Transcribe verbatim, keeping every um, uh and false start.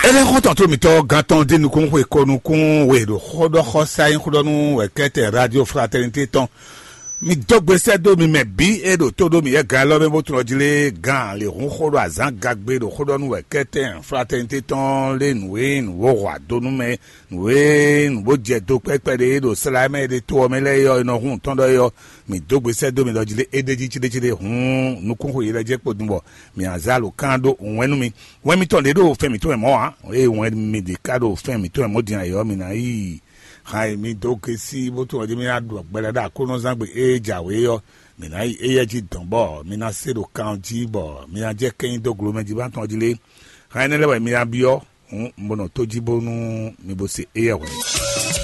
Énɛ́ xɔ́ntɔn tó mǐtɔn gán tɔn dín nukúnxwe ko nukún we ɖo xóɖɔxɔsá nyí xóɖɔnú wɛ̌kɛ́tɛn Radio Fraternité tɔn. Mi dó gbe sɛ́ dó mi mɛ bǐ e ɖo tó ɖó mi yɛ gán élɔ́ mɛ bó tunɔ jí lé gán lě hún xó ɖo azǎn gagbe ɖo xóɖɔnú wɛ̌kɛ́tɛn Fraternité tɔn lé nǔ e nǔ bó hu ado nú mɛ, nǔ e nǔ bó jɛ do kpɛ́kpɛ́ ɖe e ɖo slá mɛ e ɖe to ɔ́ mɛ lɛ́ɛ é ɔ́, è nɔ hun tɔn ɖɔ é ɔ́, mǐ dó gbe sɛ́ dó mi ɖɔ jí lé é ɖ'é jí céɖécéɖé hǔn nukúnxwe yě lɛ́ jɛ kpo din bɔ mǐ a zé alǒkan ɖó wɛn nú mi. Wɛn mitɔn ɖě ɖo fɛn mǐtɔn wɛ mɔ̌ ǎ, eye wɛn mi ɖě ká ɖo fɛn mǐtɔn wɛ mɔ̌ din ayǐ ɔ́, mǐ ná yi han e mi dó gesi bó tunwun ɔ́ jí mì ná ɖu gbɛɖe ɖo Aklúnɔzán gbe e jǎwe ɔ́, mǐ ná yi éyɛ́ jí dɔ̌n bɔ mi ná se ɖo kan jí bɔ mi ná jɛ kɛ́nyi dó glomɛ jí bá tɔn jí lé. Han énɛ́ lɛ́ɛ wɛ mi ná byɔ́, hǔn un bo nɔ tó jí bónú mi bo se éyɛ́ hwɛ̌.